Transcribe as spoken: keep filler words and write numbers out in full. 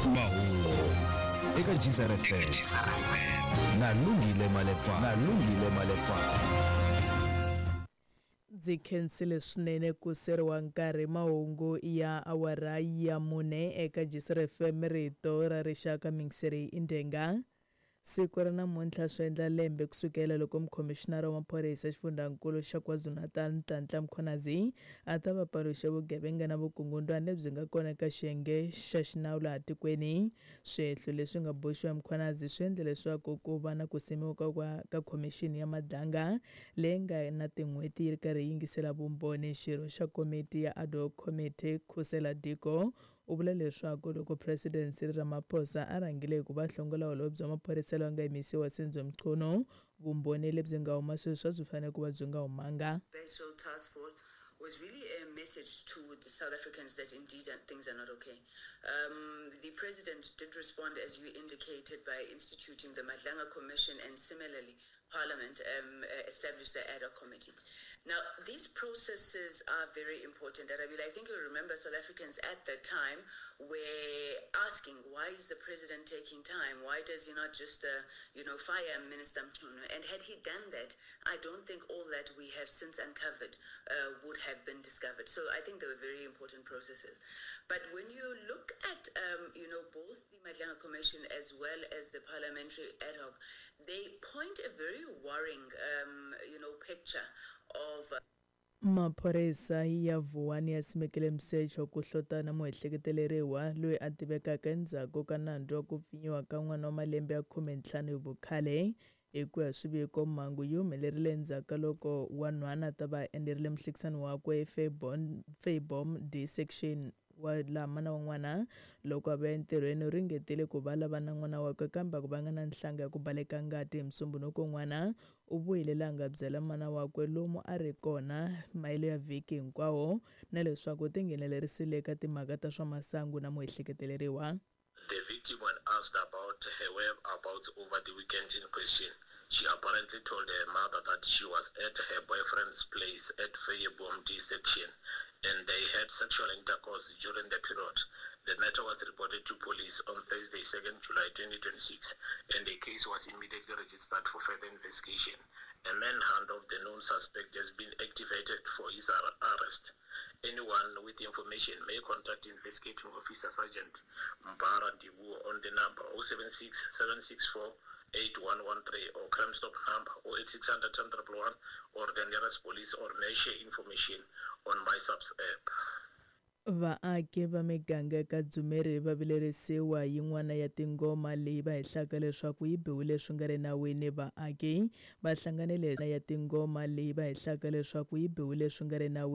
Mahungu eka Geyser F M na Lungile Malepa na Lungile Malepa. Ndzi khensile swinene ku seriwa nkarhi mahungu ya awara ya mune eka Geyser F M rito ra rixaka mingiseri Indenga. Siku ra namuntlha swi endla lembe kusukela loko mukhomishinara wa maphorisa xifundzankulu xa KwaZulu-Natal Nhlanhla Mkhwanazi a ta va paluxa vugevenga na vukungundwani lebyi nga kona eka xiyenge xa xinawu laha tikweni. Swihehlo leswi nga boxiwa hi Mkhwanazi swi endle leswaku ku va na ku simiwa ka, ka khomixini ya Madlanga leyi nga na tin'hweti yi ri karhi yi yingisela vumbhoni. Xirho xa komiti ya ad hoc committee Khusela Diko u vula leswaku loko President Cyril Ramaphosa a rhangile hi ku va hlongola holobye wa maphorisa loyi a nga yimisiwa Senzo Mchunu, vumbhoni lebyi nga huma sweswi a byi fanele ku va byi nga humanga. Special task force was really a message to the South Africans that indeed things are not okay. Um, the president did respond, as you indicated, by instituting the Madlanga Commission, and similarly, Parliament um, established the ad hoc committee. Now, these processes are very important. And I mean, I think you remember South Africans at that time were asking, why is the president taking time? Why does he not just, uh, you know, fire Minister Mchunu? And had he done that, I don't think all that we have since uncovered uh, would have been discovered. So I think they were very important processes. But when you look at, um, you know, both the Madlanga Commission as well as the parliamentary ad hoc, they point a very worrying, um, you know, picture of... Uh, Maphorisa ya Vuwani ya simekile misecho ku hlotana muehleketeleriwa loyi a tivekaka endzhaku ka nandzu wa ku pfinyiwa ka n'wana wa malembe ya khume ntlhanu hi vukhale. Hi ku ya swiviko, mhangu yi humelerile endzhaku ka loko wanhwana a ta va a endzerile muhlekisani wakwe Fayboom D section wa laha mana wa n'wana loko a vuya entirhweni u ringetile ku va lava na n'wana wakwe kambe a ku vanga na nhlanga ya ku baleka ngati. Hi musumbhunuko n'wana u vuyile laha nga byela mana wakwe lomu a ri kona mayelo ya vhiki hinkwawo na leswaku u tinghenelerisile eka timhaka ta swa masangu na muehleketeleriwa. The victim, when asked about her whereabouts over the weekend in question, she apparently told her mother that she was at her boyfriend's place at Fayeboom D section and they had sexual intercourse during the period. The matter was reported to police on Thursday, second July twenty twenty-six, and the case was immediately registered for further investigation. A manhunt of the known suspect has been activated for his arrest. Anyone with information may contact investigating officer Sergeant Mbara Ndibu on the number oh seven six, seven six four, eight one one three or Crime Stop number oh eight six hundred ten triple one or the nearest police, or may share information on MySAPS app. Vaaki va miganga eka Dzumeri va vilerisiwa yin'wana ya tingoma leyi va hehlaka leswaku yi biwile swi nga ri nawini. Vaaki va hlanganile ya tingoma leyi va hehlaka leswaku yi biwile swi nga ri nawini.